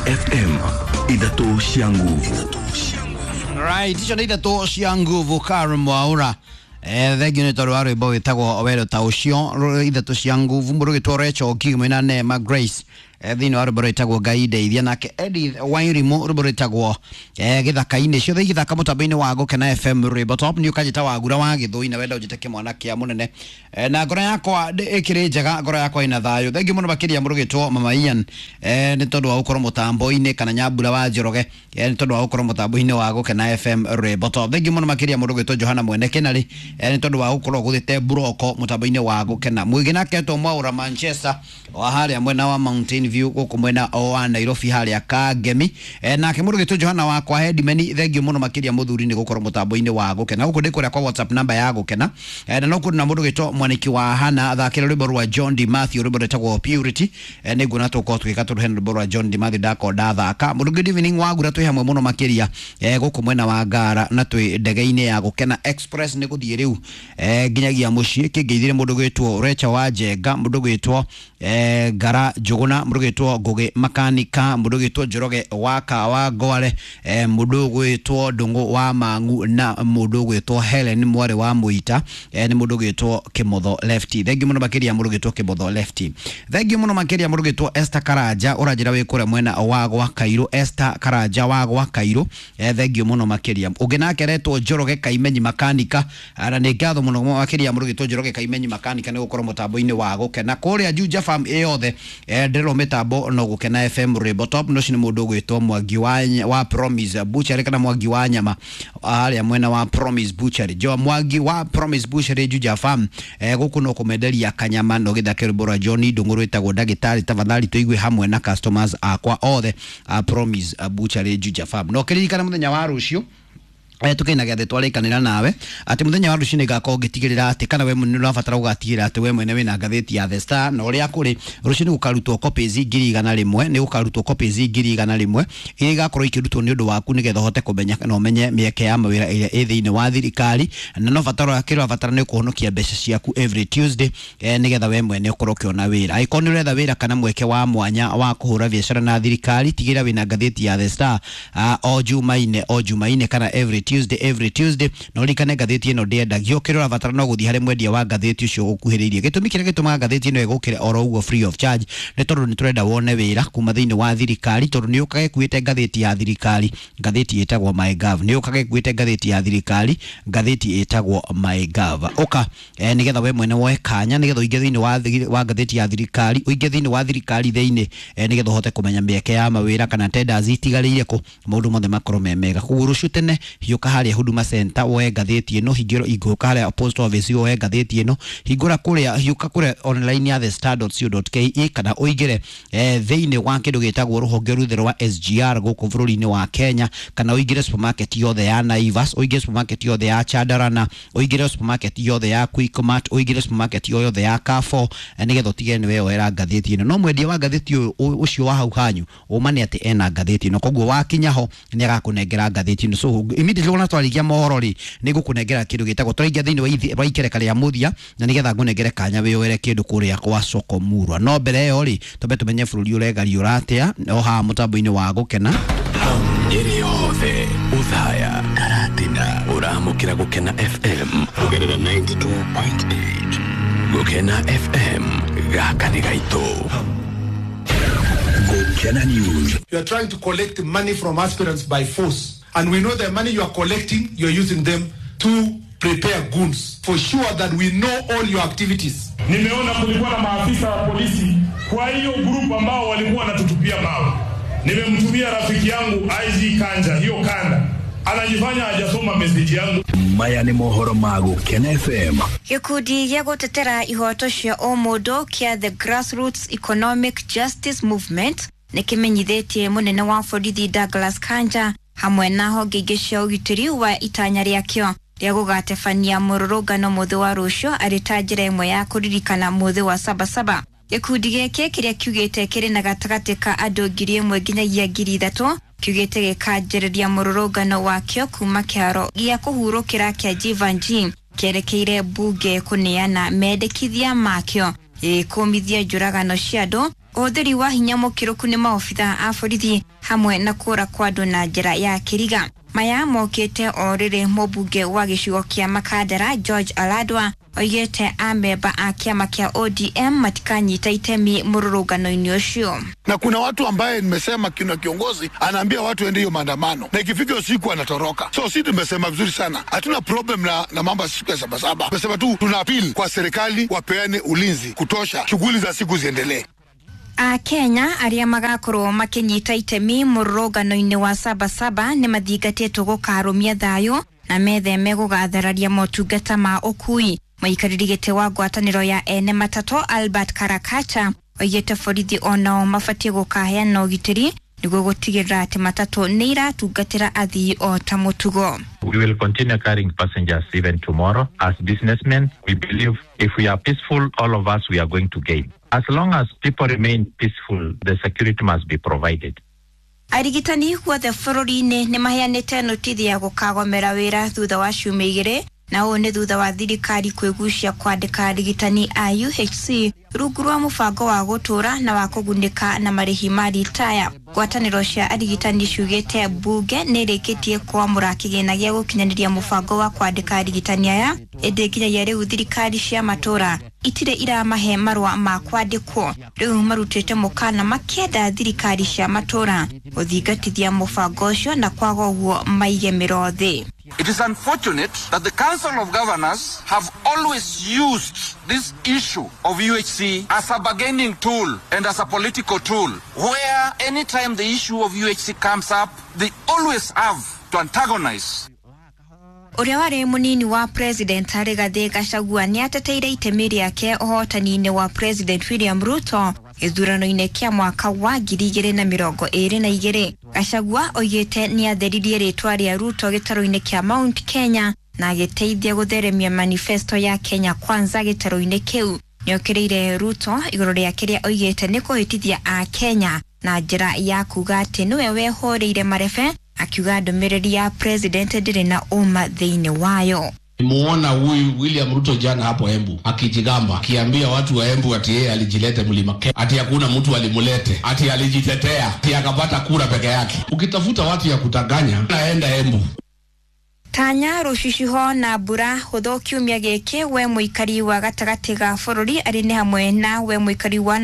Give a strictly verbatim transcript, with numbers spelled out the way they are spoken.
F M ithatũ cia nguvu. Right, icio nĩ ithatũ cia nguvu Karen Mwaura. Eh, thengiũ nĩ tondũ wa rwĩmbo wĩtagwo wendo ta ũcio ithatũ cia nguvu mũndũ ũgĩtwo Rachel Kimwe na Neema Grace eh, thĩinĩ wa rwĩmbo rwĩtagwo Ngai ndeithia, nake Edith Wairimu rwĩmbo rwĩtagwo eh, gĩthaka-inĩ. Ciothe igĩthaka mũtambo-inĩ wa Gũkena F M rwĩmbo top nĩ ũkanjĩta Wagura wa Gĩthũi na wenda ũnjĩte kĩmwana kĩa mũnene. Eh, na ngoro yakwa ĩkĩrĩ njega, ngoro yakwa ĩna thayũ. Thengiũ mũno makĩria mũndũ ũgĩtwo Mama Ian eh, nĩ tondũ wa gũkorwo mũtambo-inĩ, kana Nyambura wa Njoroge eh, nĩ tondũ wa gũkorwo mũtambo-inĩ wa Gũkena F M rwĩmbo top. Thengiũ mũno makĩria mũndũ ũgĩtwo Johana Mwene Kĩnarĩ eh, nĩ tondũ wa gũkorwo gũthĩte mburoko mũtambo-inĩ wa Gũkena. Mwĩgĩ nake etwo Mwaura Manchester wa harĩa mwena wa Mountain View gũkũ mwena wa Nairobi harĩa Kangemi. Eh, nake mũndũ ũgĩtwo Johana wakwa Hedimeni, thengiũ mũno makĩria mũthuri nĩ gũkorwo mũtambo-inĩ wa Gũkena. Gũkũ ndĩ kũrĩa kwa WhatsApp namba ya Gũkena. Eh, na no kũrĩ na mũndũ ũgĩtwo Mwaniki wa Hana athakĩra rwĩmbo rwa John D Matthew, rwĩmbo rwĩtagwo Purity. Eh, nĩnguona tũgũkorwo tũgĩka tondũ hena rwĩmbo rwa John D Matthew ndakorwo ndathaka. Mũndũ good evening Wagura, twĩ hamwe mũno makĩria eh, gũkũ mwena wa Ngara na twĩ ndege-inĩ ya Gũkena Express nĩ gũthiĩ rĩu eh, nginyagia mũciĩ. Kĩngeithire mũndũ ũgwĩtwo Recha wa Njenga, mũndũ ũgwĩtwo eh, Ngara Njũgũna, mũndũ ũgwĩtwo Ngũgĩ Makanika, mũndũ ũgwĩtwo Njoroge wa Kawa Ngware, eh, mũndũ ũgwĩtwo Ndũng'ũ wa Mang'u na mũndũ ũgwĩtwo Helen mwarĩ wa Mũita, eh, nĩ mũndũ ũgwĩtwo Kĩmotho Lefty. Thengiũ mũno makĩria mũndũ ũgwĩtwo Kĩmotho Lefty. Thengiũ mũno makĩria mũndũ ũgwĩtwo Esther Karanja, ũranjĩra wĩ kũrĩa mwena wa gwa Kairũ. Esther Karanja wa gwa Kairũ, eh, thengiũ mũno makĩria. Ũngĩ nake aretwo Njoroge Kaimenyi Makanika, na nĩ ngatho mũno makĩria mũndũ ũgwĩtwo Njoroge Kaimenyi Makanika nĩ gũkorwo mũtambo-inĩ wa Gũkena. Kũrĩa Juja Farm ĩyothe eh, ndĩrwo mĩtambo no Gũkena F M rwĩmbo top. No ũcio nĩ mũndũ ũgwĩtwo Mwangi wa, wa Promise Butchery kana Mwangi wa nyama harĩa mwena wa Promise Butchery. Jo Mwangi wa Promise Butchery Juja Farm, eh, gũkũ no kũmenderia kanyama no gĩthake rwĩmbo rwa John Ndũng'ũ rwĩtagwo ndagĩtarĩ tafadhali tũigue hamwe na customers akwa othe a Promise Butchery Juja Farm. No kĩririkana mũthenya wa rũciũ eh tukina gĩathĩ twarĩkanĩra nawe atĩ mũthenya wa rũciũ nĩngakorwo ngĩtigĩrĩra atĩ kana we mwene nĩũrabatara gũgatigĩrĩra atĩ we mwene wĩna ngathĩti ya The Star, na ũrĩa kũrĩ rũciũ nĩ gũkarutwo copies ngiri igana rĩmwe, nĩ gũkarutwo copies ngiri igana rĩmwe iria igakorwo ikĩrutwo nĩ ũndũ waku nĩgetha ũhote kũmenya na ũmenye mĩeke ya mawĩra ĩrĩa ĩ thĩinĩ wa thirikari, na no batara kĩrĩa ũrabatara nĩ kũhonokia mbeca ciaku every Tuesday eh, nĩgetha we mwene ũkorwo ũkĩona wĩra. Angĩkorwo nĩ ũretha wĩra kana mweke wa mwanya wa kũhũra biacara na thirikari, tigĩrĩra wĩna ngathĩti ya The Star uh, o Jumaine o Jumaine kana every Tuesday every Tuesday. Na ũririkane ngathĩti ĩno ndĩendagio, kĩrĩa ũrabatara no gũthiĩ harĩ mwendia wa ngathĩti ũcio ũkuhĩrĩirie. Gĩtũmi kĩrĩa gĩtũmaga ngathĩti ĩno ĩgũkĩre oro ũguo free of charge nĩ tondũ nĩ tũrenda wone wĩra kuma thĩinĩ wa thirikari, tondũ nĩ ũkaga ĩkuĩte ngathĩti ya thirikari, ngathĩti ĩtagwo MyGov, nĩ ũkaga ĩkuĩte ngathĩti ya thirikari, ngathĩti ĩtagwo MyGov. Ũka eh, nĩgetha we mwene woe kanya nĩgetha ũingĩ thĩinĩ wa, wa ngathĩti ya thirikari, ũingĩ thĩinĩ wa thirikari thĩinĩ eh, nĩgetha ũhote kũmenya mĩeke ya mawĩra kana tenders itigarĩire kũ, maũndũ mothe makorwo me mega. Koguo rũciũ tene hiũka harĩa Huduma Center woe ngathĩti ĩno, hingĩro ingũka harĩa post office woe ngathĩti ĩno, hingũra kũrĩa, hiũka kũrĩa online ya the star dot co dot ke kana ũingĩre eh, thĩinĩ wa kĩndũ gĩtagwo rũhonge ruthe rwa S G R gũkũ bũrũri-inĩ wa Kenya, kana ũingĩre supermarket yothe ya Naivas, ũingĩre supermarket yothe ya Chandarana, ũingĩre supermarket yothe ya Quickmart, ũingĩre supermarket yothe ya Carrefour eh, nĩgetha ũtige nĩ weyoera ngathĩti ĩno. No mwendia wa ngathĩti ũyũ ũcio wa hau hanyu ũma nĩ atĩ ena ngathĩti ĩno, koguo wakinya ho nĩ agakũnengera ngathĩti ĩno. So immediately wona twarigia mohoro rĩ, nĩ ngũkũnengera kĩndũ gĩtagwo tũraingĩra thĩinĩ wa ithi- wa ikereka rĩa mũthia, na nĩgetha ngũnengere kanya wĩyoere kĩndũ kũrĩa kwa Soko Murwa. No mbere ĩyo rĩ, twambe tũmenye bũrũri ũregariũra atĩa o haha mũtambo-inĩ wa Gũkena. Nyeri yothe Uthaya Karatina ũramũkĩra Gũkena F M kũgerera ninety-two point eight. Gũkena F M gaka nĩ gaitũ. Gũkena News. You are trying to collect money from aspirants by force, and we know the money you are collecting, you are using them to prepare goons. For sure that we know all your activities. Nimeona kulikuwa na maafisa wa polisi kwa hiyo group ambao walikuwa wanatutupia mawe. Nimemtumia rafiki yangu I G Kanja hiyo kanda. Anajifanya hajasoma message yangu. Maya nĩ mohoro ma Gũkena F M. Gĩkundi gĩa gũtetera ihoto cia ũmũndũ kĩa The Grassroots Economic Justice Movement nĩ kĩmenyithĩtie mũnene wa borithi Douglas Kanja hamwe na honge ingĩ cia ũgitĩri wa itanya rĩakĩo rĩa gũgatebania mũrũrũngano mũthĩ wa rũciũ arĩ ta njĩra ĩmwe ya kũririkana mũthĩ wa Sabasaba. Gĩkundi gĩkĩ kĩrĩa kiugĩte kĩrĩ na gatagatĩ ka andũ ngiri ĩmwe nginyagia ngiri ithatũ kiugĩte gĩkanjĩrĩria mũrũrũngano wakĩo kuma kĩharo gĩa kũhurũkĩra kĩa Jeevanjee kĩerekeire mbunge kũneana mendekithia makĩo gĩkũmithia njũragano cia andũ Ũhũthĩri wa hinya mũkĩrũku nĩ maobitha a borithi hamwe na kũra kwa andũ na njĩra ya kĩriga. Maya mokĩte o rĩrĩ mũmbunge wa gĩcigo kĩa Makandara George Aladwa oigĩte amemba a kĩama kĩa O D M matikanyita itemi mũrũrũngano-inĩ ũcio. Na kuna watu ambaye nimesema kuna kiongozi anaambia watu ende hiyo maandamano na ikifika usiku anatoroka. So sisi tumesema vizuri sana, hatuna problem na, na mambo ya siku ya sabasaba. Tumesema tu tuna appeal kwa serikali wapeane ulinzi kutosha, shughuli za siku ziendelee. A Kenya arĩa magakorwo makĩnyita itemi mũrũrũngano-inĩ wa sabasaba nĩ mathingatĩtwo gũkarũmia thayũ na metheme gũgathararia motungata ma ũkui. Mũikarĩri gĩtĩ wa ngwatanĩro ya ene matatũ Albert Karakacha oigĩte borithi onao mabatiĩ gũkaheana ũgitĩri nĩguo gũtigĩrĩra atĩ matatũ nĩ iratungatĩra athii o ta mũtugo. We will continue carrying passengers even tomorrow. As businessmen, we believe if we are peaceful, all of us, we are going to gain. As long as people remain peaceful, the security must be provided. Arigitani guothe bũrũri-inĩ nĩ maheanĩte notithi ya gũkagomera wĩra thutha wa ciumia igĩrĩ, na ũũ nĩ thutha wa thirikari kwĩgucia kwandĩka arigitani a U H C rungu rwa mũbango wa gũtũũra na wa kũgunĩka na marĩhi ma ritaya. Ngwatanĩro cia arigitani ciugĩte mbunge nĩ ĩrĩkĩtie kwamũra kĩgĩna gĩa gũkinyanĩria mũbango wa kwandĩka arigitani aya, ĩndĩ nginyagia rĩu thirikari cia matũũra itirĩ iramahe marũa ma kwandĩkwo. Rĩu marutĩte mũkana makĩenda thirikari cia matũũra gũthingatithia mũbango ũcio na kwaga ũguo maige mĩro thĩ. It is unfortunate that the Council of Governors have always used this issue of U H C as a bargaining tool and as a political tool, where anytime the issue of U H C comes up, they always have to antagonize. Ũrĩa warĩ mũnini wa President Rigathĩ Gachagua nĩ ateteire itemi rĩake ũhotani-inĩ wa President William Ruto gĩthurano-inĩ kĩa mwaka wa ngiri igĩrĩ na mĩrongo ĩrĩ na igĩrĩ. Gachagua oigĩte nĩ atheririe rĩtwa rĩa Ruto gĩtarũ-inĩ kĩa Mount Kenya na agĩteithia gũtheremia manifesto ya Kenya Kwanza gĩtarũ-inĩ kĩu. Nĩokĩrĩire Ruto igũrũ rĩa kĩrĩa oigĩte nĩ kũhĩtithia a Kenya na njĩra ya kuga atĩ nĩwe wehũrĩire marebe, akiuga ndũmĩrĩri ya president ndĩrĩ na ũma thĩinĩ wayo. Nimuona huyu William Ruto jana hapo Embu akijigamba, akiambia watu wa Embu ati yeye alijilete mlima Kenya, ati hakuna mtu alimulete, ati alijitetea, ati akapata kura peke yake. Ukitafuta watu ya kutanganya, naenda Embu. Tanya rũcicio na mbura hũthũ kiumia gĩkĩ we mũikari wa gatagatĩ ga bũrũri arĩ nĩ hamwe na we mũikari wa